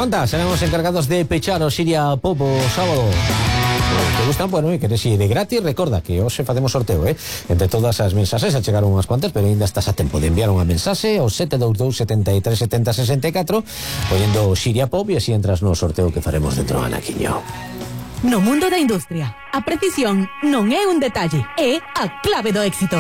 Anda, seremos encargados de pechar o Siria Pop o sábado. Te gustan, bueno, e queres ir de gratis, recorda que hoxe facemos sorteo, entre todas as mensaxes, a chegaron unhas cuantas, pero ainda estás a tempo de enviar unha mensaxe ao 722 73 70 64 poñendo Siria Pop e así entras no sorteo que faremos dentro do anaquiño. No mundo da industria, a precisión non é un detalle, é a clave do éxito.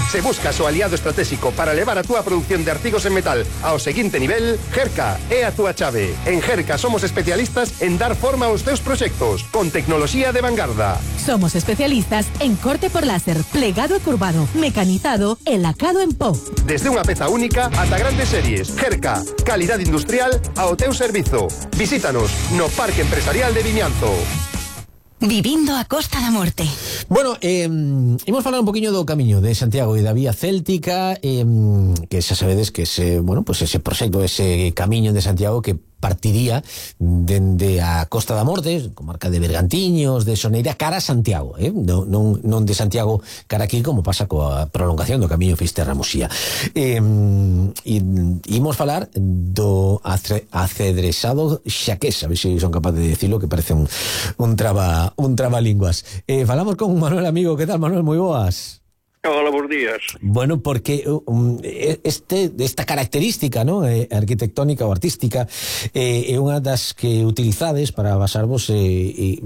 Se buscas o aliado estratégico para levar a túa produción de artigos en metal ao seguinte nivel, Gerca é a túa chave. En Gerca somos especialistas en dar forma aos teus proxectos, con tecnoloxía de vanguarda. Somos especialistas en corte por láser, plegado e curvado, mecanizado e lacado en pó. Desde unha peza única ata grandes series. Gerca, calidade industrial ao teu servizo. Visítanos no Parque Empresarial de Vimianzo. Vivindo a Costa da Morte. Bueno, imos falar un poquinho do camiño de Santiago e da vía céltica, que xa sabedes que ese, bueno, pues ese proxecto, ese camiño de Santiago que partiría dende a Costa da Morte, comarca de Bergantiños, de Soneira, cara a Santiago, non de Santiago cara aquí, como pasa coa prolongación do camiño Fisterra-Muxía. Imos falar do acedresado xaqués, a ver se son capaz de decirlo, que parece un trabalínguas. Falamos con Manuel Amigo. Que tal, Manuel? Moi boas. Hola, bons días. Bueno, porque esta característica, ¿no?, arquitectónica ou artística é unha das que utilizades para basarvos e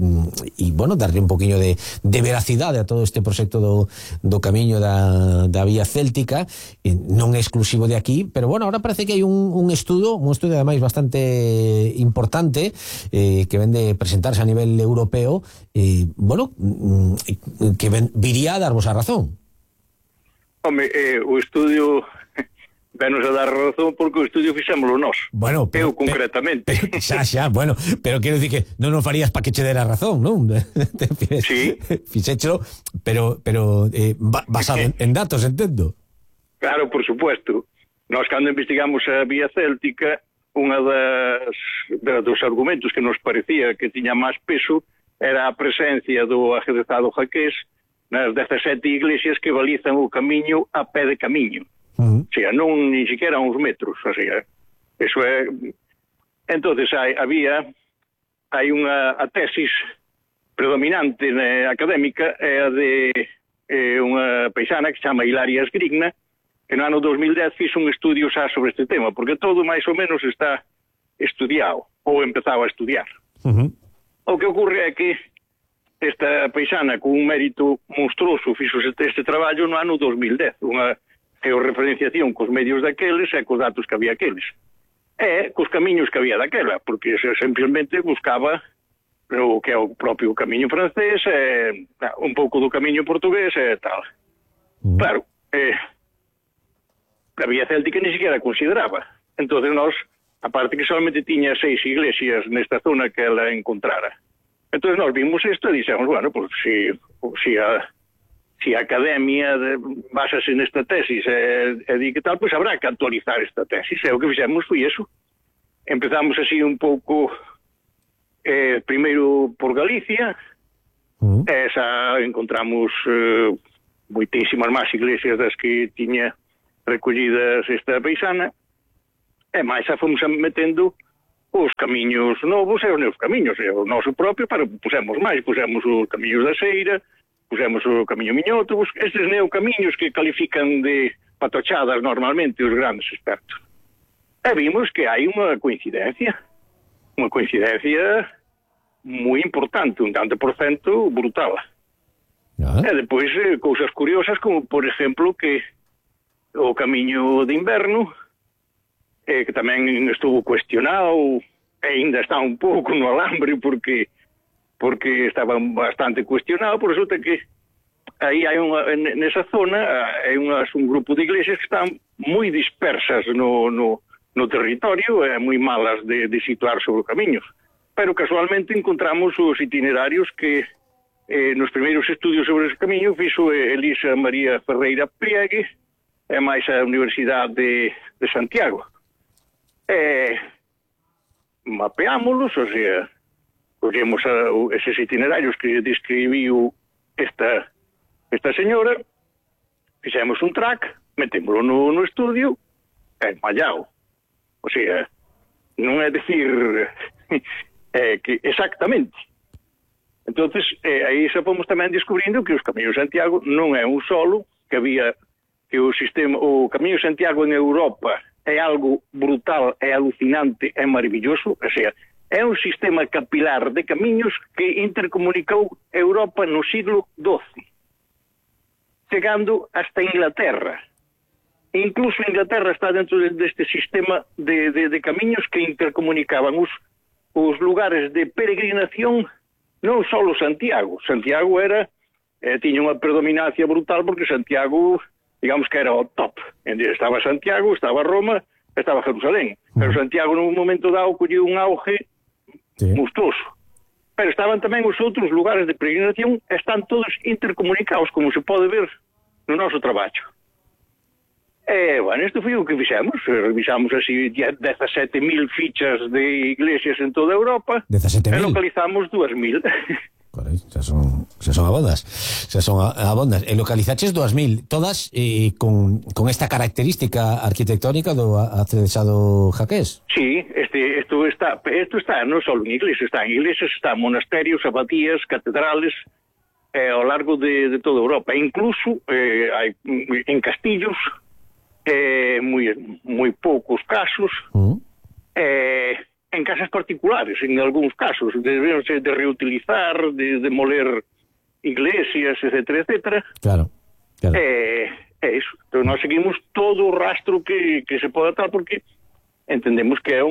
bueno, darle un poquinho de veracidade a todo este proxecto do camiño da vía céltica. Non é exclusivo de aquí, pero bueno, ahora parece que hai un estudo ademais bastante importante que vende presentarse a nivel europeo, bueno, que viría a darvos a razón. Home, o estudio venos a dar razón porque o estudio fixémoslo nós. Bueno, eu concretamente. Xa, bueno, pero quero dicir que non o farías para que che dera razón, non? Sí. Fixéchelo, pero basado en datos, entendo. Claro, por supuesto. Nós, cando investigamos a vía céltica, unha dos argumentos que nos parecía que tiña máis peso era a presencia do ajedrezado jaqués nas 17 iglesias que balizan o camiño a pé de camiño. O sea, non ni siquiera uns metros, o sea, eso é... Entonces hai unha tesis predominante académica, é a de unha paisana que se chama Hilaria Sgrigna, que no ano 2010 fixo un estudio xa sobre este tema, porque todo máis ou menos está estudiado, ou empezaba a estudiar. O que ocorre é que esta paisana, con un mérito monstruoso, fixo este traballo no ano 2010, unha georreferenciación cos medios daqueles e cos datos que había aqueles. E cos camiños que había daquela, porque simplesmente buscaba o que é o propio camiño francés, un pouco do camiño portugués e tal. Claro, a vía céltica ni siquiera consideraba. Entón, nós, aparte que solamente tiña 6 iglesias nesta zona que ela encontrara. Entón, nós vimos isto e dixemos, bueno, pues, si a academia basase nesta tesis e di que tal, pois habrá que actualizar esta tesis. E o que fixemos foi iso. Empezamos así un pouco primeiro por Galicia, e xa encontramos moitísimas máis iglesias das que tiña recollidas esta paisana, e máis xa fomos metendo os camiños novos e os neos camiños, e o noso propio, pero pusemos máis, pusemos os camiños da Seira, pusemos o camiño Miñoto, estes neocamiños que califican de patochadas normalmente os grandes expertos. E vimos que hai unha coincidencia moi importante, un tanto por cento brutal. E depois cousas curiosas como, por exemplo, que o camiño de inverno, que tamén estuvo cuestionado e ainda está un pouco no alambre porque estaba bastante cuestionado, por resulta que aí hai nesa zona hai un grupo de iglesias que están moi dispersas no territorio e moi malas de situar sobre camiños, pero casualmente encontramos os itinerarios que nos primeiros estudios sobre ese camiño fixo Elisa María Ferreira Priegue e máis a Universidade de Santiago. Mapeámolos, o sea, collemos eses itinerarios que describiu esta señora, fixemos un track, metémoslo no estudio e mallao. O sea, non é decir que exactamente. Entonces, aí xa fomos tamén descubrindo que os Camiños de Santiago non é un solo, que había que o Camiño de Santiago en Europa é algo brutal, é alucinante, é maravilloso, o sea, é un sistema capilar de camiños que intercomunicou Europa no siglo XII, chegando hasta Inglaterra. Incluso Inglaterra está dentro deste sistema de camiños que intercomunicaban os lugares de peregrinación. Non só Santiago. Santiago tiña unha predominancia brutal porque Santiago, digamos que era o top. Estaba Santiago, estaba Roma, estaba Jerusalén. Pero Santiago nun momento dado colleu un auge monstruoso. Pero estaban tamén os outros lugares de peregrinación, están todos intercomunicados, como se pode ver no noso traballo. Bueno, isto foi o que fixemos. Revisamos así 17.000 fichas de iglesias en toda Europa. 17.000? E localizamos 2.000. Correcto, xa son abondas. E localizaches 2.000, todas con esta característica arquitectónica do acedesado jaqués. Sí, isto está non só en iglesias, está en monasterios, abadías, catedrales, ao largo de toda Europa. E incluso hai en castillos, moi poucos casos, en casas particulares, en algúns casos, de reutilizar, de demoler iglesias, etcétera, etcétera. Claro. Iso. Entón, nós seguimos todo o rastro que se pode atar, porque entendemos que é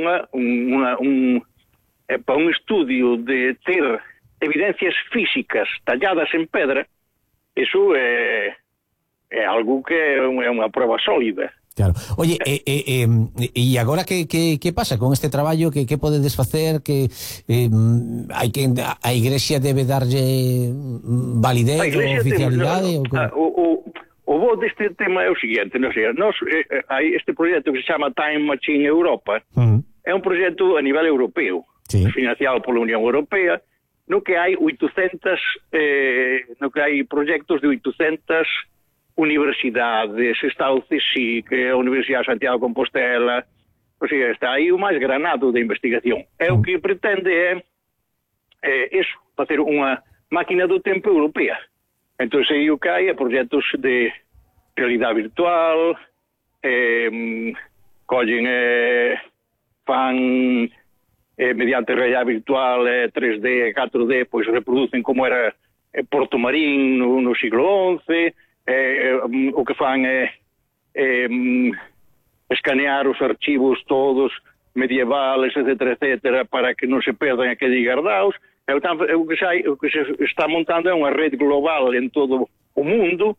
para un estudio de ter evidencias físicas talladas en pedra, iso é algo que é unha prova sólida. Claro. Oye, e agora que pasa con este traballo? Que podedes facer? Que a Igrexa debe darlle validez ou oficialidade? O bo deste tema é o seguinte, hai este proxecto que se chama Time Machine Europa. É un proxecto a nivel europeo, financiado pola Unión Europea, no que hai 800 hai proxectos de 800 universidades, está o CSIC, a Universidade de Santiago de Compostela, o sea, está aí o máis granado de investigación. O que pretende é facer unha máquina do tempo europea. Entón, aí o que hai é proxectos de realidade virtual, collen, fan mediante realidade virtual 3D, 4D, pois reproducen como era Porto Marín no siglo XI. O que fan é escanear os archivos todos medievales, etcétera, etcétera, para que non se perdan aqueles guardados. O que se está montando é unha rede global en todo o mundo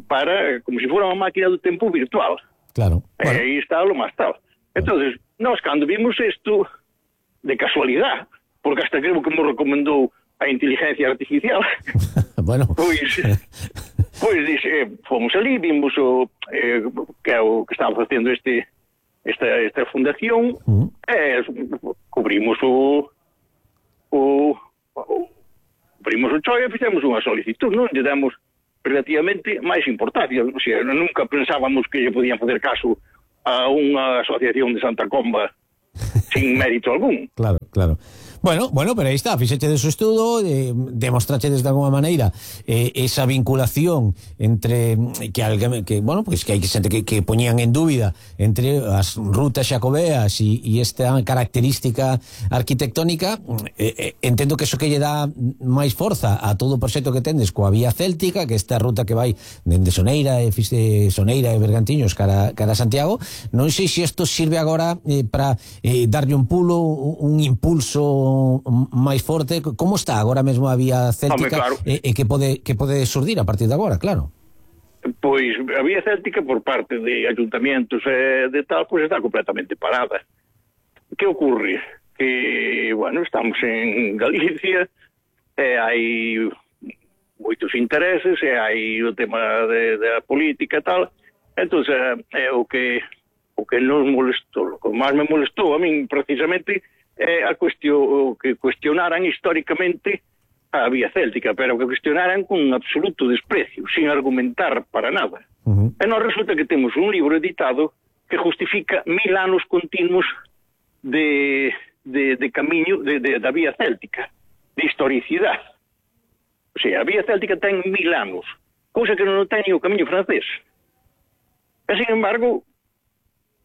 para, como se fora unha máquina do tempo virtual. Claro. E aí está o máis tal. Entonces, nós cando vimos isto de casualidade, porque hasta creo que me recomendou a inteligencia artificial, bueno, pois fomos ali, vimos que é o que estaba facendo esta fundación, cubrimos o chollo e fixemos unha solicitud, non lle damos relativamente máis importancia, o sea, nunca pensábamos que lle podían facer caso a unha asociación de Santa Comba sin mérito algún. Claro. Bueno, pero aí está, fixeche de su estudo, demostrache desde alguma maneira esa vinculación entre que hai xente que poñían en dúbida entre as rutas xacobeas e esta característica arquitectónica. Entendo que eso que lle dá máis forza a todo o proxecto que tendes coa vía céltica, que esta ruta que vai dende Soneira e Bergantiños cara a Santiago. Non sei se isto sirve agora para darlle un pulo, un impulso máis forte. Como está agora mesmo a vía céltica? Claro. E que pode surdir a partir de agora, claro? Pois a vía céltica por parte de ayuntamientos de tal, pois está completamente parada. Que ocorre? Que, bueno, estamos en Galicia, hai moitos intereses, hai o tema da política e tal. Entón, o que nos molestou, o que máis me molestou a min precisamente é a cuestión que cuestionaran históricamente a vía céltica, pero que cuestionaran con absoluto desprecio, sin argumentar para nada. E nos resulta que temos un libro editado que justifica 1000 anos continuos de camiño da vía céltica, de historicidade. O sea, a vía céltica ten 1000 anos, cousa que non ten o camiño francés. E, sin embargo,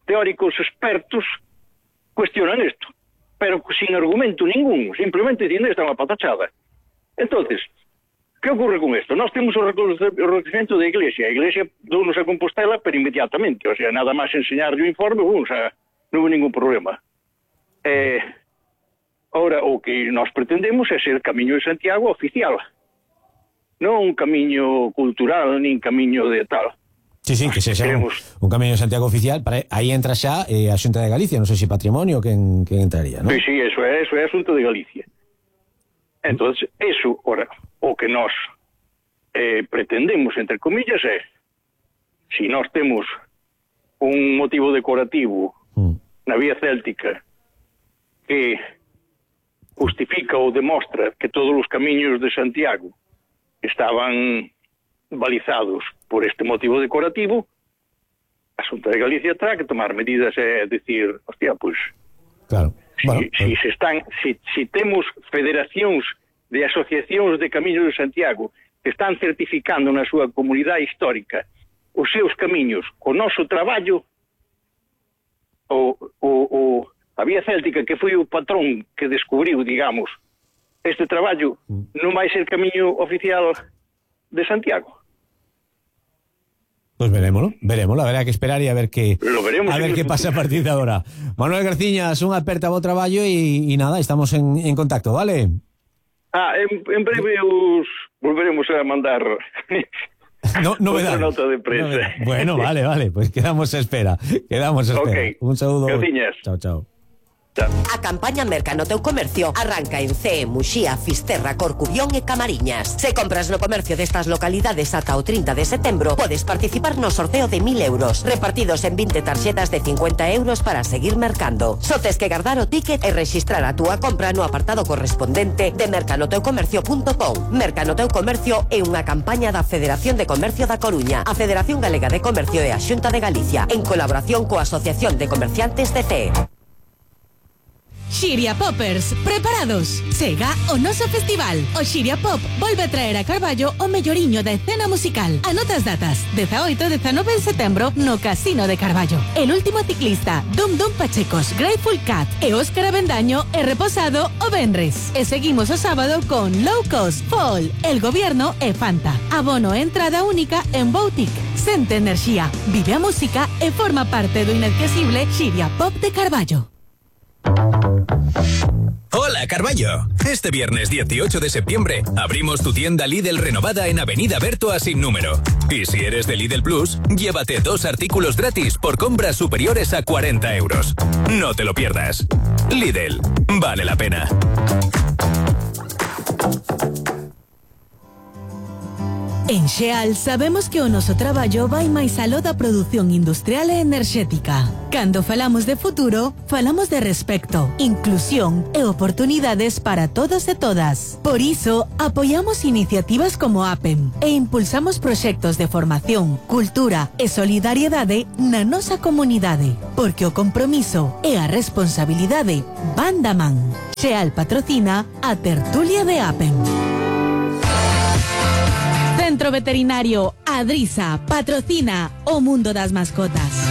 teóricos expertos cuestionan isto, pero sin argumento ningún, simplemente dicindo esta é unha patachada. Entonces, que ocurre con isto? Nós temos o reconocimiento da Iglesia. A Iglesia dounos a Compostela, pero inmediatamente. O sea, nada máis enseñarlle o informe, non houve ningún problema. Ora, o que nós pretendemos é ser Camiño de Santiago oficial. Non un camiño cultural, nin camiño de tal. Sí, que sexa un Camiño de Santiago oficial. Aí entra xa a Xunta de Galicia, non sei se Patrimonio quen entraría, non? Sí, eso é asunto de Galicia. Entonces, eso, ora, o que nós pretendemos, entre comillas, é si nós temos un motivo decorativo na vía céltica que justifica ou demostra que todos os camiños de Santiago estaban balizados por este motivo decorativo, a Xunta de Galicia terá que tomar medidas e decir, hostia, pois, claro. Si temos federacións de asociacións de camiños de Santiago que están certificando na súa comunidade histórica os seus camiños co noso traballo, a vía céltica, que foi o patrón que descubriu, digamos, este traballo, non vai ser camiño oficial de Santiago. Pues verémoslo, habrá que esperar e a ver que pasa a partir de agora. Manuel Garciñas, unha aperta ao traballo e nada, estamos en contacto, vale? En breve os volveremos a mandar novedades. Otra nota de prensa. Bueno, vale, pues quedamos a espera. Okay. Un saludo. Garciñas. Chao. A campaña Merca no teu comercio arranca en CEE, Muxía, Fisterra, Corcubión e Camariñas. Se compras no comercio destas localidades ata o 30 de setembro, podes participar no sorteo de 1000 euros, repartidos en 20 tarxetas de 50 euros para seguir mercando. Só tes que guardar o ticket e rexistrar a túa compra no apartado correspondente de mercanoteucomercio.com. Merca no teu comercio é unha campaña da Federación de Comercio da Coruña, a Federación Galega de Comercio e a Xunta de Galicia, en colaboración coa Asociación de Comerciantes de CEE. Xiria Poppers, preparados? Chega o noso festival. O Xiria Pop volve a traer a Carballo o melloriño da escena musical. Anota as datas: 18 e 19 de setembro no Casino de Carballo. El último ciclista, Dum Pachecos, Grateful Cat e Óscar Avendaño e Reposado o venres. E seguimos o sábado con Low Cost, Fall, El Gobierno e Fanta. Abono e entrada única en Boutique. Sente enerxía, vive a música e forma parte do inesquecible Xiria Pop de Carballo. Hola, Carballo. Este viernes 18 de septiembre abrimos tu tienda Lidl renovada en Avenida Bertoa sin número. Y si eres de Lidl Plus, llévate 2 artículos gratis por compras superiores a 40 euros. No te lo pierdas. Lidl, vale la pena. En Xeal sabemos que o noso traballo vai máis aló da produción industrial e enerxética. Cando falamos de futuro, falamos de respecto, inclusión e oportunidades para todos e todas. Por iso, apoiamos iniciativas como APEM e impulsamos proxectos de formación, cultura e solidariedade na nosa comunidade, porque o compromiso e a responsabilidade van da man. Xeal patrocina a tertulia de APEM. Centro Veterinario Adrisa patrocina o mundo das mascotas.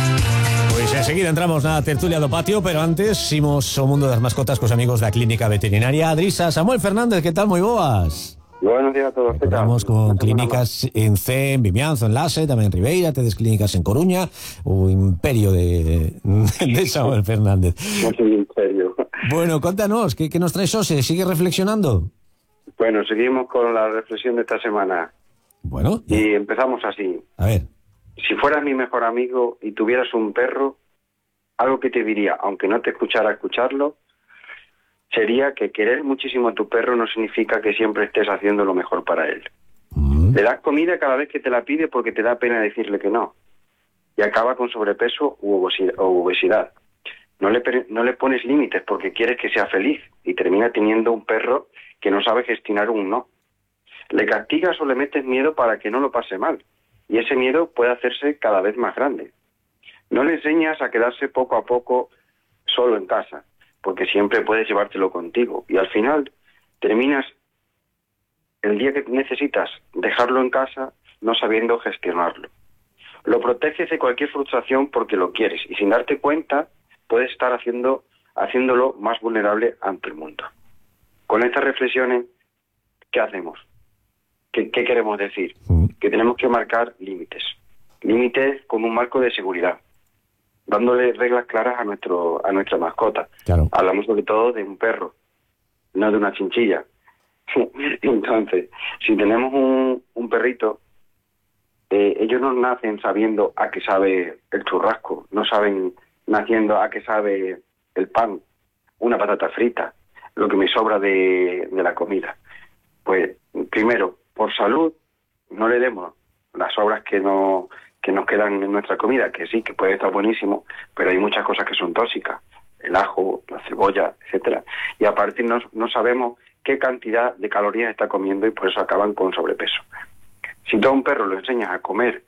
Pois enseguida entramos na tertulia do patio, pero antes imos o mundo das mascotas cos amigos da Clínica Veterinaria Adrisa. Samuel Fernández, que tal? Moi boas. Buenos días a todos. Estamos con clínicas en C, en Vimianzo, en Lase, tamén en Ribeira, tedes clínicas en Coruña, o imperio de Samuel Fernández. Un imperio. Bueno, contanos, que nos traes hoxe? Sigue reflexionando? Bueno, seguimos con la reflexión de esta semana. Bueno. Y empezamos así. A ver. Si fueras mi mejor amigo y tuvieras un perro, algo que te diría, aunque no te escuchara escucharlo, sería que querer muchísimo a tu perro no significa que siempre estés haciendo lo mejor para él. Le das comida cada vez que te la pide porque te da pena decirle que no. Y acaba con sobrepeso u obesidad. No le pones límites porque quieres que sea feliz y termina teniendo un perro que no sabe gestionar un no. Le castigas o le metes miedo para que no lo pase mal, y ese miedo puede hacerse cada vez más grande. No le enseñas a quedarse poco a poco solo en casa, porque siempre puedes llevártelo contigo. Y al final terminas el día que necesitas dejarlo en casa no sabiendo gestionarlo. Lo proteges de cualquier frustración porque lo quieres y sin darte cuenta puedes estar haciéndolo más vulnerable ante el mundo. Con estas reflexiones, ¿qué hacemos? ¿Qué queremos decir? Que tenemos que marcar límites. Límites como un marco de seguridad, dándole reglas claras a nuestra mascota. Claro. Hablamos sobre todo de un perro, no de una chinchilla. Entonces, si tenemos un perrito, ellos no nacen sabiendo a qué sabe el churrasco, no saben naciendo a qué sabe el pan, una patata frita, lo que me sobra de la comida. Pues, primero, por salud, no le demos las sobras que nos quedan en nuestra comida, que sí, que puede estar buenísimo, pero hay muchas cosas que son tóxicas, el ajo, la cebolla, etcétera. Y aparte no sabemos qué cantidad de calorías está comiendo y por eso acaban con sobrepeso. Si tú a un perro lo enseñas a comer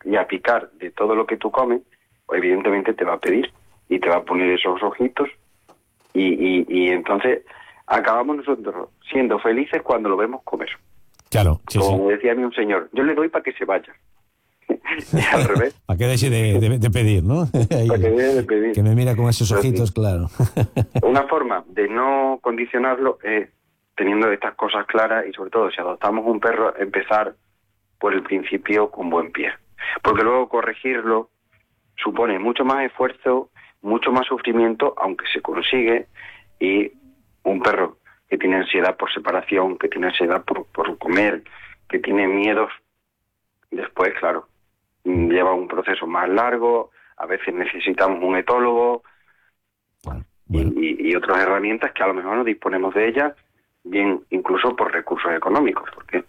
y a picar de todo lo que tú comes, pues evidentemente te va a pedir y te va a poner esos ojitos y entonces acabamos nosotros siendo felices cuando lo vemos comer. Claro, sí, como decía a mí un señor, yo le doy para que se vaya. Al revés. Para que deje de pedir, ¿no? Para que deje de pedir. Que me mira con esos ojitos, sí. Claro. Una forma de no condicionarlo es teniendo estas cosas claras y sobre todo si adoptamos un perro, empezar por el principio con buen pie. Porque luego corregirlo supone mucho más esfuerzo, mucho más sufrimiento, aunque se consigue, y un perro que tiene ansiedad por separación, que tiene ansiedad por comer, que tiene miedos, después, claro, lleva un proceso más largo, a veces necesitamos un etólogo, bueno. Y otras herramientas que a lo mejor no disponemos de ellas, bien incluso por recursos económicos, porque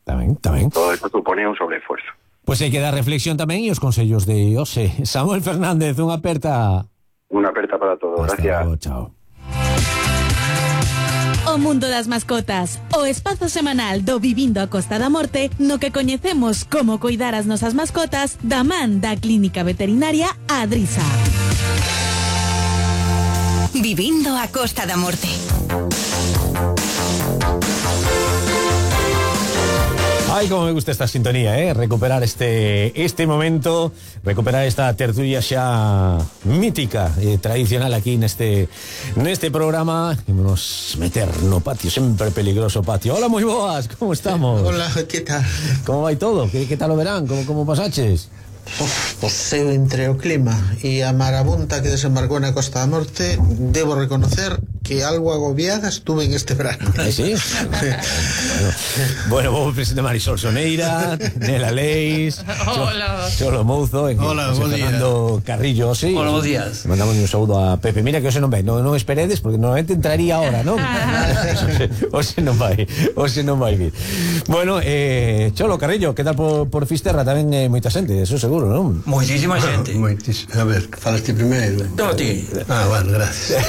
tamén. Todo esto supone un sobreesfuerzo. Pois hai que dar reflexión tamén e os consellos de Ose. Samuel Fernández, unha aperta. Unha aperta para todos, gracias. Luego, chao. O mundo das mascotas, o espazo semanal do Vivindo a Costa da Morte, no que coñecemos como coidar as nosas mascotas da man da Clínica Veterinaria Adrisa. Vivindo a Costa da Morte. Ay, como me gusta esta sintonía, recuperar este momento, recuperar esta tertulia xa mítica, tradicional aquí neste programa. Imos meter no patio, sempre peligroso patio. Hola, moi boas, como estamos? Hola, que tal? Como vai todo? Que tal o verán? Como pasaches? Pois eu entre o clima e a marabunta que desembarcou na Costa da Morte, debo reconocer que algo agobiada estuve en este verano. ¿Sí? Bueno, vou presentar Marisol Soneira, Nela Leis, Cholo Mouzo, hola, bo día. Fernando Carrillo, sí. Hola, bons días. Mandamos un saúdo a Pepe. Mira que hoxe non vai, non esperedes porque normalmente entraría ahora, non? Hoxe non vai vir. Bueno, Cholo Carrillo, que tal por Fisterra? Tamén moita xente, eso seguro, non? Moitísima xente. A ver, falaste primeiro. No, ti. Bueno, gracias.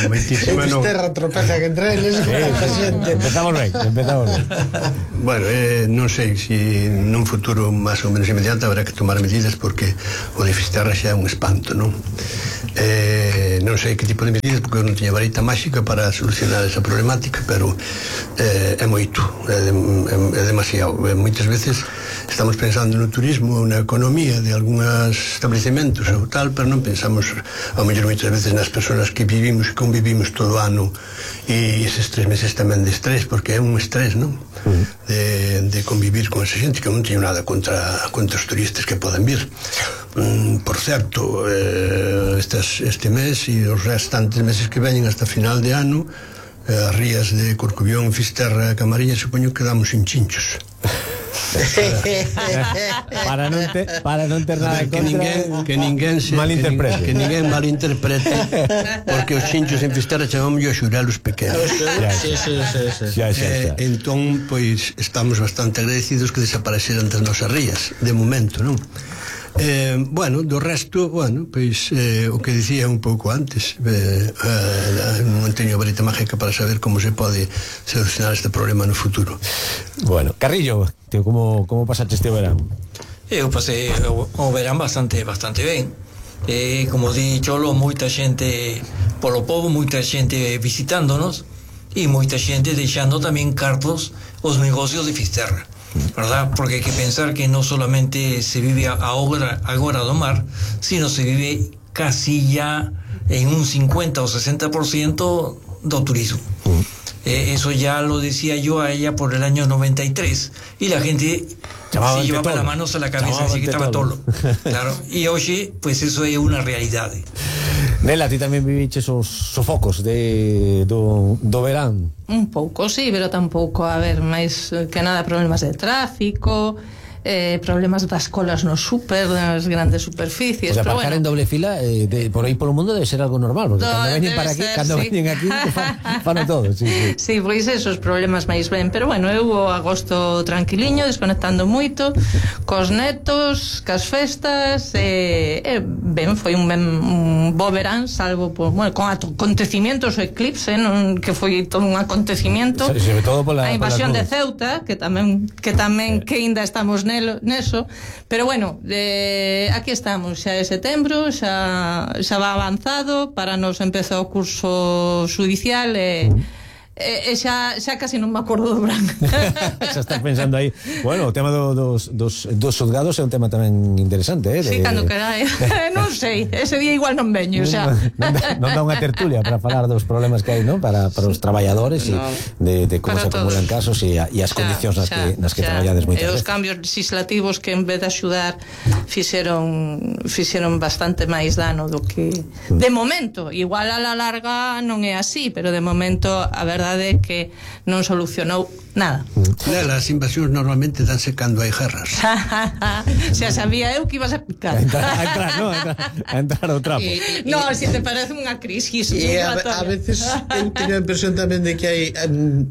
Moitísima non. Fisterra tropeza que entre eles. Empezamos ben. Bueno, non sei se nun futuro máis ou menos inmediato habrá que tomar medidas porque o de Fisterra xa é un espanto, non? Non sei que tipo de medidas porque eu non tiña varita máxica para solucionar esa problemática, pero é moito, é demasiado. Moitas veces estamos pensando no turismo, na economía de algúns establecementos ou tal, pero non pensamos ao mellor moitas veces nas persoas que vivimos e convivimos todo o ano e eses 3 meses tamén de estrés, porque é un estrés, non? De convivir con esa xente, que non teño nada contra os turistas que poden vir. Por certo, este mes e os restantes meses que veñen hasta final de ano, as rías de Corcubión, Fisterra e Camariñas supoño que damos sin chinchos. para non ter nada que ninguén malinterprete porque os chinchos en Fisterra chamamos a xurelos pequenos. Entón, pois estamos bastante agradecidos que desapareceran das nosas rías de momento, non? Bueno, do resto, pois o que dicía un pouco antes, non teño varita mágica para saber como se pode solucionar este problema no futuro. Bueno, Carrillo, como pasaste este verán? Eu pasei o verán bastante ben. como di Cholo, moita xente polo pobo, moita xente visitándonos e moita xente deixando tamén cartos os negocios de Fisterra, verdad? Porque hai que pensar que non solamente se vive agora do mar, sino se vive casi ya en un 50 o 60% do turismo. Eso ya lo decía yo a ella por el año 93 y la gente se llevaba las manos a la cabeza, así que estaba todo. Claro, y hoy pues eso es una realidad. Nela, ti tamén viviches os sofocos do verán? Un pouco, sí, pero tampouco, a ver, máis que nada problemas de tráfico, problemas das colas no súper, das grandes superficies. O sea, pero aparcar bueno, en doble fila por aí polo mundo debe ser algo normal, porque cando veñen para aquí, veñen aquí, fan todo. Sí, pois esos problemas máis ben, pero bueno, eu o agosto tranquiliño, desconectando moito cos netos, cas festas, ben, foi un bo verán, salvo por, bueno, con acontecimientos, o eclipse, non, que foi todo un acontecimiento, sobre todo pola a invasión de Ceuta, que tamén que ainda estamos neso, pero bueno, aquí estamos, xa é setembro, xa va avanzado, para nos empezou o curso judicial e xa casi non me acordo do branco. Xa estás pensando aí. Bueno, o tema dos xulgados é un tema tamén interesante, Sí, cando querai. Non sei, ese día igual non veño, xa. Non dá unha tertulia para falar dos problemas que hai, non? Para os traballadores e de como se acumulan casos e as condicións nas que traballades moitas veces. Os cambios legislativos que en vez de axudar fixeron bastante máis dano do que de momento, igual a la larga non é así, pero de momento a verdade é que non solucionou nada. As invasións normalmente danse cando hai guerras. Xa sabía eu que ibas a picar. A entrar ao trapo. Non, se te parece unha crisis. A veces eu teño a impresión tamén de que hai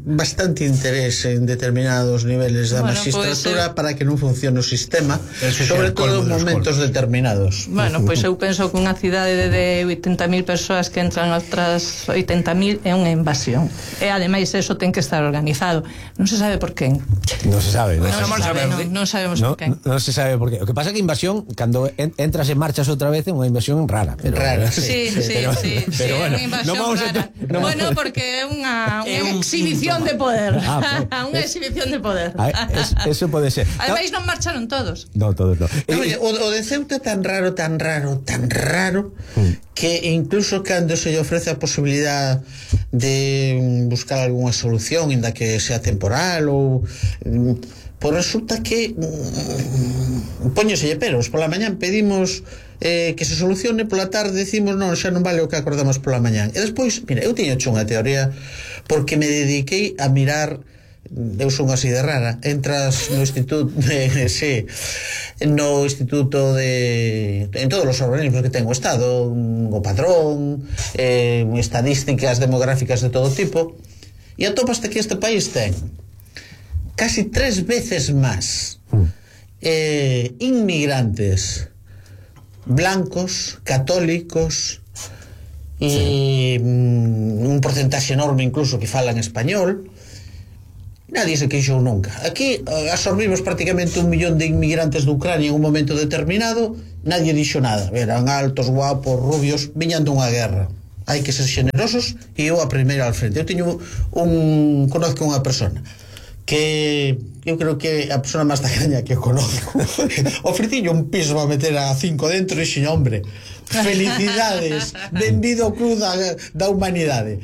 bastante interés en determinados niveles da magistratura para que non funcione o sistema, sobre todo en momentos determinados. Bueno, pois eu penso que unha cidade de 80.000 persoas que entran outras 80.000 é unha invasión. E ademais eso ten que estar organizado. Non se sabe por qué. Non se sabe. Non sabemos por qué. Non se sabe por qué. O que pasa é que invasión, cando entras e marchas outra vez, é unha invasión rara. Rara, sí. Pero bueno, non vamos a... Bueno, porque é unha exhibición de poder. Unha exhibición de poder. Eso pode ser. Ademais non marcharon todos. Non, todos non. O de Ceuta é tan raro que incluso cando se lle ofrece a posibilidad de buscar algunha solución, inda que sea temporal ou pois resulta que póñeselle peros. Pola mañán pedimos que se solucione, pola tarde decimos non, xa non vale o que acordamos pola mañán. E despois, mira, eu tiño hecho unha teoría porque me dediquei a mirar. Eu son así de rara. Entras no instituto en todos os organismos que ten o Estado, o Padrón, estadísticas demográficas de todo tipo, e atopaste que este país ten casi 3 veces máis inmigrantes blancos, católicos e un porcentaxe enorme incluso que falan español. Nadie se queixou nunca. Aquí absorbimos prácticamente 1 millón de inmigrantes de Ucrania en un momento determinado, nadie dixo nada. Eran altos, guapos, rubios, viñan dunha guerra. Hai que ser generosos e eu a primeira al frente. Eu conozco unha persona que eu creo que a persona máis tacaña que conozco. Ofreciño un piso para meter a 5 dentro e dixo, hombre, felicidades, benvido ao club da humanidade.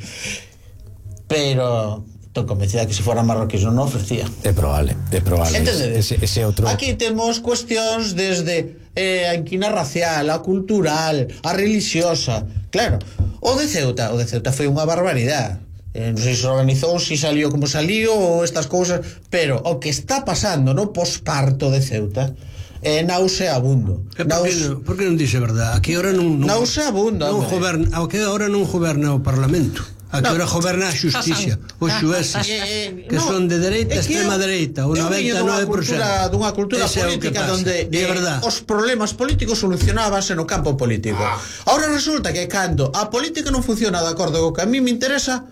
Pero estou convencida que se fora marroquíes non ofrecía. É probable. Entendedes? Ese outro. Aquí temos cuestións desde a inquina racial, a cultural, a religiosa. Claro, o de Ceuta foi unha barbaridade. Non sei se organizou, se salió como salió ou estas cousas, pero o que está pasando no posparto de Ceuta é nauseabundo. Por que non dice verdad? Aquí ahora non nauseabundo. Aquí ahora non goberna o Parlamento. Aquí ahora goberna a xusticia, os xueces que son de dereita, extrema dereita, o 99%. Dunha cultura política onde os problemas políticos solucionábanse no campo político. Ahora resulta que cando a política non funciona de acordo co que a mí me interesa,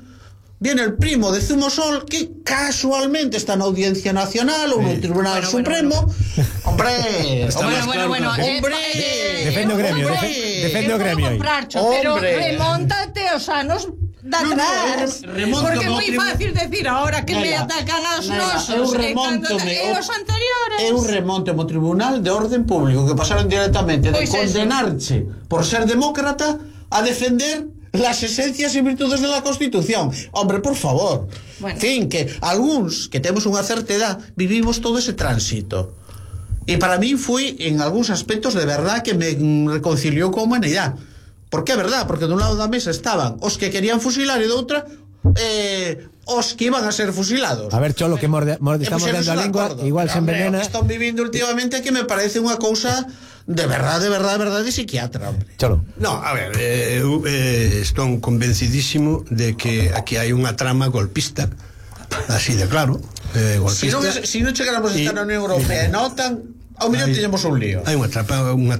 viene el primo de Zumosol, que casualmente está na Audiencia Nacional ou no Tribunal Supremo. Hombre, defende o gremio, defende o gremio aí. Pero remóntate aos anos de atrás, porque é moi fácil decir ahora que me atacan aos nosos e os anteriores. Eu remonto ao Tribunal de Orden Público, que pasaron directamente de condenarche por ser demócrata a defender las esencias y virtudes de la Constitución. Hombre, por favor. En fin, que algúns que temos unha certa edad vivimos todo ese tránsito. E para mí foi, en algúns aspectos, de verdad que me reconciliou coa humanidade. Porque é verdad, porque de un lado da mesa estaban os que querían fusilar e de outra os que iban a ser fusilados. A ver, Cholo, que estamos mordendo a lengua, igual se envenena. O que están vivindo últimamente que me parece unha cousa de verdade de psiquiatra, hombre. Cholo. No, a ver, estou convencidísimo de que aquí hai unha trama golpista, así de claro, golpista. Si non chegáramos a estar na Unión Europea e na OTAN, ao mellor teñemos un lío. Hai unha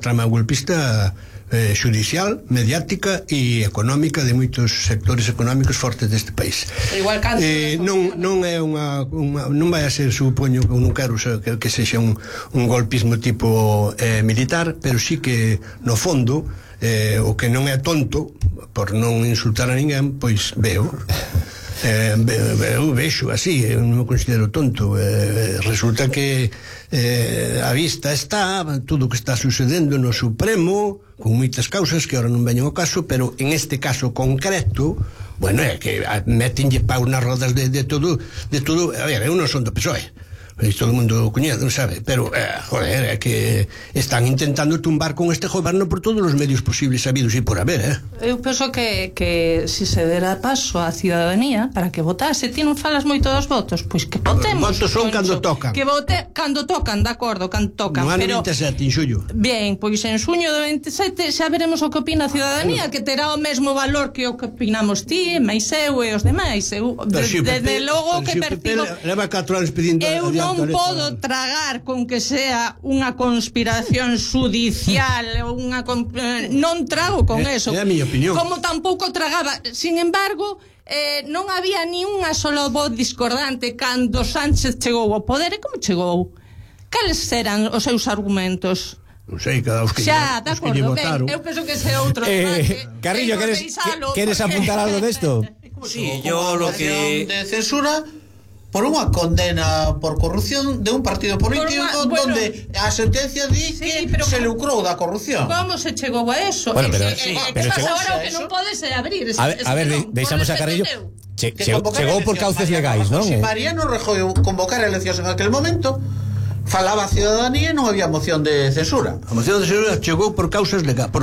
trama golpista judicial, mediática e económica de moitos sectores económicos fortes deste país. Igual non é non vai a ser, supoño, non quero que sexa un golpismo tipo militar, pero sí que no fondo o que non é tonto, por non insultar a ninguén, pois vexo así, non me considero tonto. Resulta que a vista está tudo o que está sucedendo no Supremo, con moitas causas que ahora non veñen ao caso, pero en este caso concreto, bueno, é que metenlle paus nas rodas de todo. A ver, eu non son do PSOE, todo o mundo coñece, non sabe, pero joder, é que están intentando tumbar con este goberno por todos os medios posibles habidos e por haber. Eu penso que si se dera paso á ciudadanía para que votase, ti non falas moito dos votos, pois que votemos. Votos son cando tocan. Que vote cando tocan, de acordo, cando tocan. No ano 27, en xullo. Bien, pois en xuño do 27 xa veremos o que opina a ciudadanía, que terá o mesmo valor que o que opinamos ti, máis eu e os demais. Desde logo que percibo. Leva 4 anos pedindo. Eu non podo tragar con que sea unha conspiración judicial, non trago con eso. É a miña opinión. Como tampouco tragaba. Sin embargo, non había ni unha sola voz discordante cando Sánchez chegou ao poder. E como chegou? Cales eran os seus argumentos? Non sei, cada os que xa, de acordo, ben, eu penso que ese outro debate. Carrillo, queres apuntar algo desto? Sí, yo lo que... de censura por unha condena por corrupción de un partido político donde a sentencia di que se lucrou da corrupción. Como se chegou a eso? Bueno, pero agora o que non pode ser abrir. A ver, deixamos a Carrillo. Chegou por cauces legais, non? Se Mariano Rajoy convocar eleccións en aquel momento, falaba a ciudadanía e non había moción de censura. A moción de censura chegou por causas legales,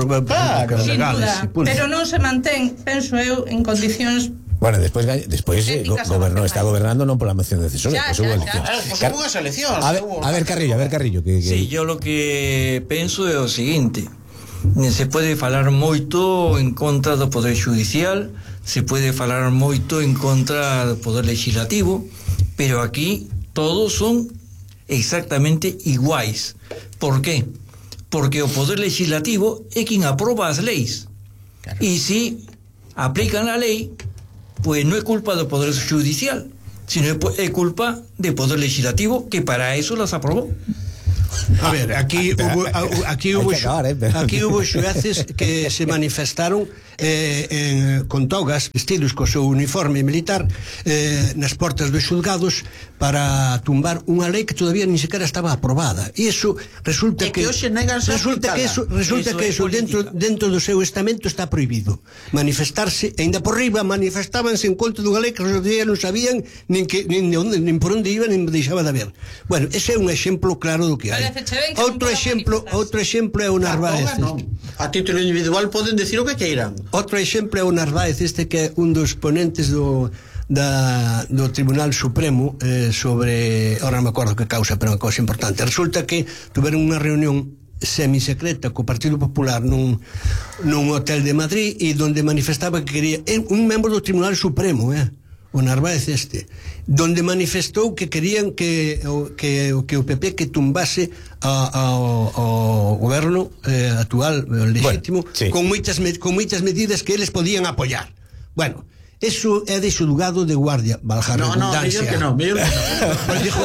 legales. Pero non se mantén, penso eu, en condicións. Bueno, despois está gobernando non pola moción de censura, hubo eleccións. A ver, Carrillo. Sí, yo lo que penso é o seguinte: se pode falar moito en contra do Poder Judicial, se pode falar moito en contra do Poder Legislativo, pero aquí todos son exactamente iguais. Por qué? Porque o Poder Legislativo é quen aproba as leis. E si aplican a lei, pues no é culpa do Poder Judicial, sino é culpa do Poder Legislativo, que para eso las aprobó. A ver, aquí hubo xueces que se manifestaron con togas, vestidos co seu uniforme militar, nas portas dos xulgados para tumbar unha lei que todavía ni sequera estaba aprobada. E iso resulta que eso dentro do seu estamento está prohibido. Manifestarse, e ainda por riba manifestábanse en contra dunha lei que os días non sabían nin por onde iban, nin deixaba de haber. Bueno, ese é un exemplo claro do que hai. Outro exemplo é o Narváez. A título individual poden decir o que queiran. Outro exemplo é o Narváez, que é un dos ponentes do Tribunal Supremo sobre, ahora non me acordo que causa, pero é unha cousa importante. Resulta que tuveron unha reunión semisecreta co Partido Popular nun hotel de Madrid, e donde manifestaba que quería un membro do Tribunal Supremo, o Narváez donde manifestou que querían que o PP que tumbase ao goberno actual legítimo, con moitas medidas que eles podían apoiar. Bueno, Eso é de xulgado de guardia, valja a redundancia. Mellor que non. Pues dijo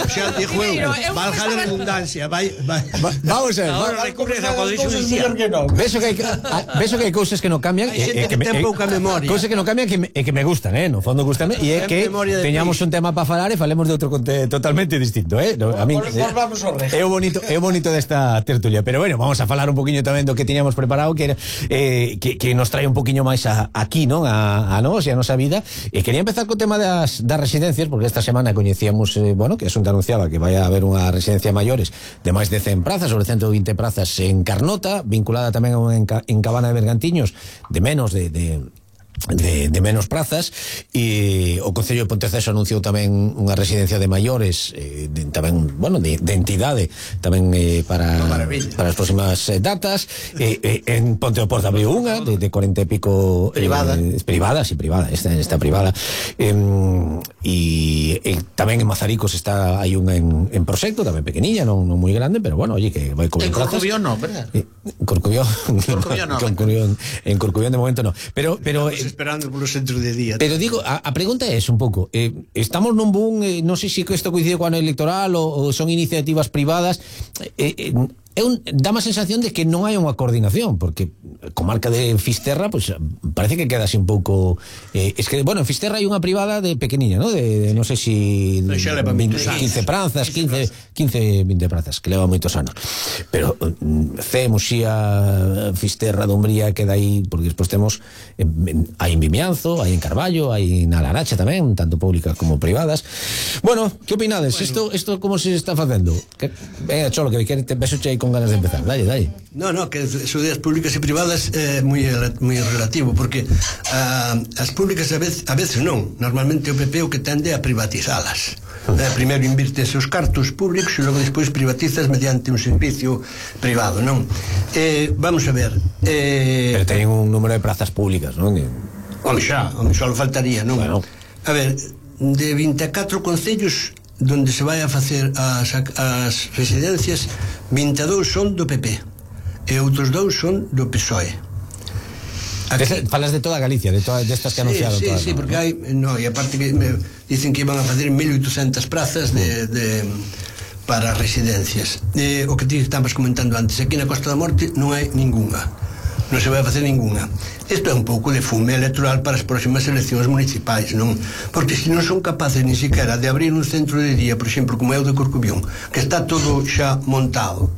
eu, valja a redundancia. Vamos a ver. Ahora recurre a poder judicial. Ves que hai cousas que non cambian, Hai xente que ten pouca memoria. Cousas que non cambian e que me gustan, no fondo gustame, e é que teñamos un tema para falar e falemos de outro totalmente distinto, A mí é o bonito desta tertulia, pero bueno, vamos a falar un poquinho tamén do que tiñamos preparado, que era que nos trae un poquinho máis aquí, non? A nós e a nosa vida. E quería empezar co tema das residencias, porque esta semana coñecíamos, que a Xunta anunciaba que vai a haber unha residencia maiores de máis de 100 prazas, sobre 120 prazas en Carnota, vinculada tamén en Cabana de Bergantiños, de menos de menos prazas, e o Concello de Ponteceso anunciou tamén unha residencia de maiores, tamén, de entidade tamén para as próximas datas. En Ponte do Porto abriu unha de 40 e pico privada, esta privada, e tamén en Mazaricos hai unha en proxecto, tamén pequeniña, non moi grande, pero oye, que vai con prazas. En Corcubión non, verdad? Corcubión en Corcubión de momento non, pero esperando polos centros de día. Pero digo, a pregunta é un pouco, estamos nun boom, non sei se isto coincide co ano electoral ou son iniciativas privadas, dá má sensación de que non hai unha coordinación, porque comarca de Fisterra, pues parece que queda así un pouco, es que, en Fisterra hai unha privada de pequeniña, ¿no? De non sei si 15 prazas, 15, 20 prazas, que leva moitos anos. Pero Muxía, Fisterra, Dumbría, queda aí, porque despois temos hai en Vimianzo, hai en Carballo, hai na Laracha tamén, tanto públicas como privadas. Bueno, que opinades? Isto como se está facendo? Venga, Cholo, que beso che aí con ganas de empezar. Dale. No, que sociedades públicas e privadas é moi relativo, porque as públicas a veces non. Normalmente o PP o que tende a privatizalas. Primeiro invirtes os cartos públicos e logo despois privatizas mediante un servicio privado, non? Vamos a ver. Pero teñen un número de prazas públicas, non? Home, xa lo faltaría, non? Bueno. A ver, de 24 concellos donde se vai a facer as residencias, 22 son do PP e outros 2 son do PSOE. Falas de toda Galicia, de todas estas que anunciaron. Sí, porque hai, e aparte que dicen que iban a facer 1.800 prazas para residencias. O que ti estabas comentando antes, aquí na Costa da Morte non hai ningunha, non se vai a facer ningunha. Isto é un pouco de fume electoral para as próximas eleccións municipais, non? Porque se non son capaces ni siquiera de abrir un centro de día, por exemplo, como é o de Corcubión, que está todo xa montado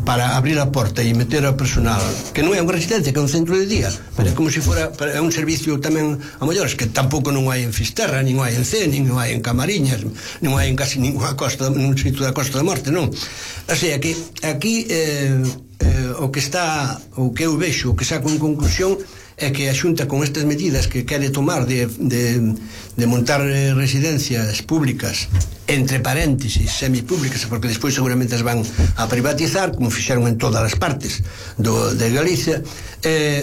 para abrir a porta e meter ao personal, que non é unha residencia, que é un centro de día, pero é como se fora un servicio tamén a maiores, que tampouco non hai en Fisterra, nin hai en Cee, nin hai en Camariñas, non hai en casi ninguna costa, nun sitio da Costa da Morte, non? O sea, que aquí o que eu vexo, o que saco en conclusión é que a Xunta, con estas medidas que quere tomar de montar residencias públicas, entre paréntesis, semipúblicas, porque despois seguramente as van a privatizar, como fixeron en todas as partes de Galicia,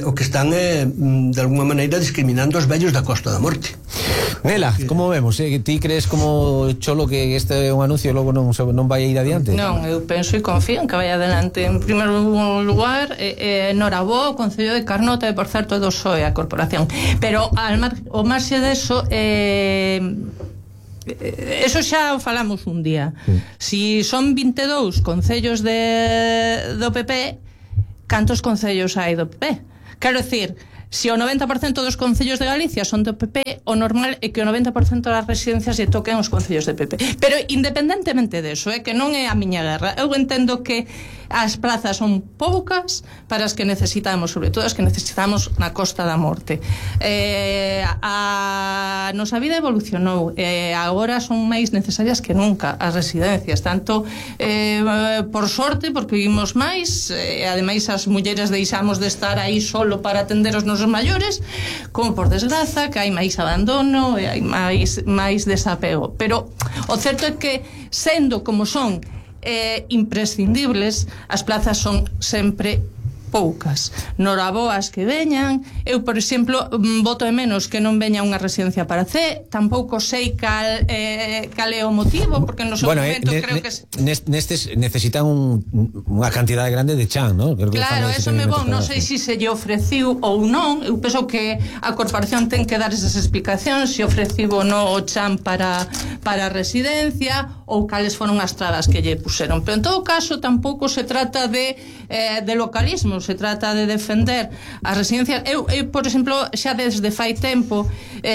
o que están de alguma maneira discriminando os vellos da Costa da Morte. Nela, como vemos? Ti crees como Cholo que este é un anuncio e logo non vai ir adiante? Non, eu penso e confío en que vai adiante. En primeiro lugar, Norabó, o Concello de Carnota, e por certo do PSOE, a corporación. Pero ao marxe deso, eso xa o falamos un día. Si son 22 concellos do PP, cantos concellos hai do PP? Quero dicir, se o 90% dos concellos de Galicia son do PP, o normal é que o 90% das residencias lle toquen os concellos de PP. Pero independentemente deso, que non é a miña guerra, eu entendo que as plazas son poucas para as que necesitamos, sobre todo as que necesitamos na Costa da Morte. A nosa vida evolucionou, agora son máis necesarias que nunca as residencias, tanto por sorte, porque vivimos máis, ademais as mulleres deixamos de estar aí solo para atender os nosos maiores, como por desgraza que hai máis abandono e hai máis desapego. Pero o certo é que, sendo como son imprescindibles, as plazas son sempre poucas. Noraboas que veñan, eu, por exemplo, voto de menos que non veña unha residencia para C, tampouco sei cal é o motivo, porque no seu momento creo que... Nestes necesitan unha cantidade grande de chan, ¿no? Claro, eso me bon, non sei se lle ofreciu ou non, eu penso que a corporación ten que dar esas explicacións, se ofreciu ou non o chan para a residencia, ou cales foron as trabas que lle puseron. Pero en todo caso tampouco se trata de localismo, se trata de defender as residencias. Eu por exemplo, xa desde fai tempo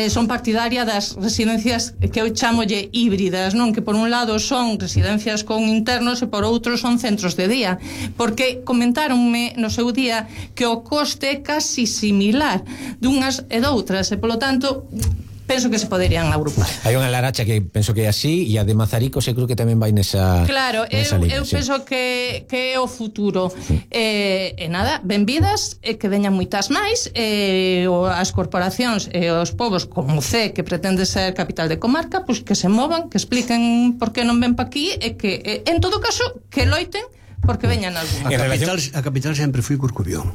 son partidaria das residencias que eu chamolle híbridas, non? Que por un lado son residencias con internos e por outro son centros de día, porque comentáronme no seu día que o coste é casi similar dunhas e doutras, e polo tanto penso que se poderían agrupar. Hai unha Laracha que penso que é así, e a de Mazaricos eu creo que tamén vai nesa. Claro, eu penso que é o futuro. E nada, benvidas, que veñan moitas máis, as corporacións e os povos como C, que pretende ser capital de comarca, pois que se movan, que expliquen por que non ven pa aquí, e que en todo caso que loiten porque veñan algún. A capital sempre foi Corcubión.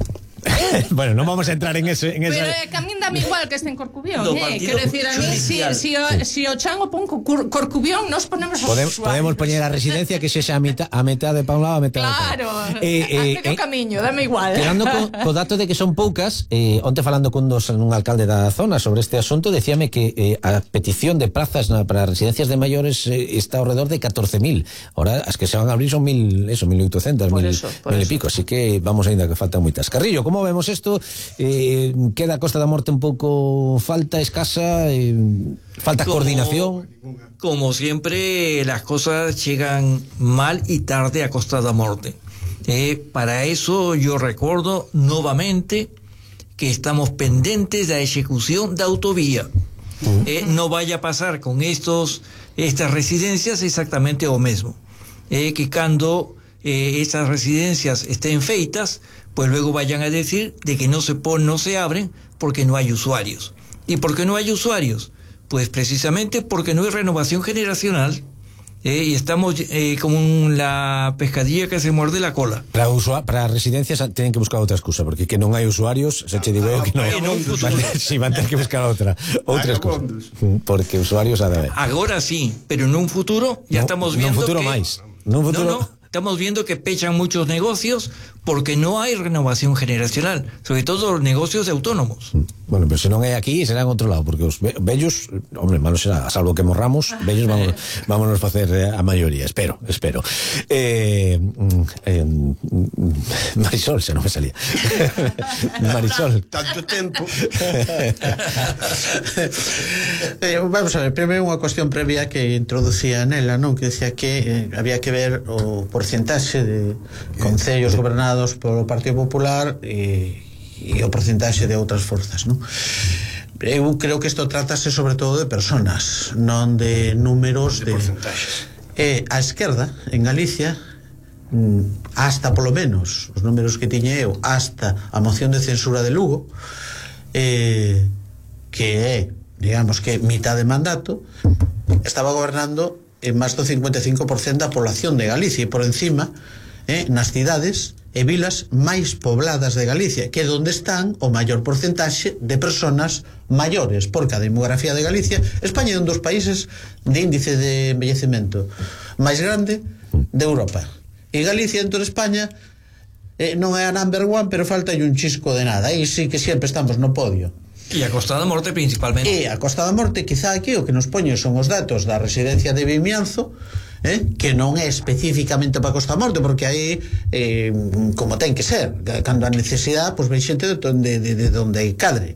Bueno, non vamos a entrar en eso. Pero que a min dame igual que este en Corcubión, quero decir, a mí si o chan o pon Corcubión, nos ponemos podemos poñer a residencia que sexa a metade pa un lado, a metade claro, a medio camiño, dame igual. Quedando co dato de que son poucas, onte falando cun alcalde da zona sobre este asunto, decíame que a petición de plazas para residencias de maiores está ao redor de 14.000. Ahora as que se van a abrir son 1.800, 1.000 e pico, así que vamos ainda que faltan moitas. Carrillo, como vemos isto? Queda a Costa da Morte un pouco escasa, falta coordinación. Como siempre, las cosas llegan mal y tarde a Costa da Morte. Para eso yo recuerdo nuevamente que estamos pendientes de la ejecución de autovía. No vaya a pasar con estas residencias exactamente lo mismo. Que cuando estas residencias estén feitas, pues luego vayan a decir de que no se abren porque no hay usuarios. ¿Y por qué no hay usuarios? Pues precisamente porque no hay renovación generacional. Y estamos como la pescadilla que se muerde la cola. Para residencias tienen que buscar otra excusa, porque que non hai usuarios, se che digo que non. Si van a ter que buscar outra excusa. Porque usuarios ha de haber. Agora sí, pero en un futuro ya estamos viendo que... Estamos viendo que pechan muchos negocios porque no hay renovación generacional, sobre todo los negocios de autónomos. Bueno, pero se non é aquí, será en outro lado, porque os vellos, hombre, malo será, salvo que morramos, vellos vámonos facer a maioría, espero. Marisol, se non me salía. Marisol. Tanto tempo. Vamos a ver, primeiro unha cuestión previa que introducía nela, non? Que decía que había que ver o porcentaxe de concellos gobernados polo Partido Popular e o porcentaxe de outras forzas, non? Eu creo que isto trátase sobre todo de personas, non de números de porcentaxes. A esquerda en Galicia, hasta polo menos os números que tiña eu, hasta a moción de censura de Lugo, que é, digamos que mitad de mandato, estaba gobernando en máis do 55% da población de Galicia, e por encima nas cidades e vilas máis pobladas de Galicia, que é onde están o maior porcentaxe de personas maiores, porque a demografía de Galicia, España é un dos países de índice de envellecemento máis grande de Europa, e Galicia en toda España non é a number one, pero falta un chisco de nada, aí sí que sempre estamos no podio. E a Costa da Morte principalmente. E a Costa da Morte, quizá aquí o que nos poñe son os datos da residencia de Vimianzo, que non é especificamente para Costa da Morte, porque aí como ten que ser, cando a necesidade, pois ven xente de donde cadre.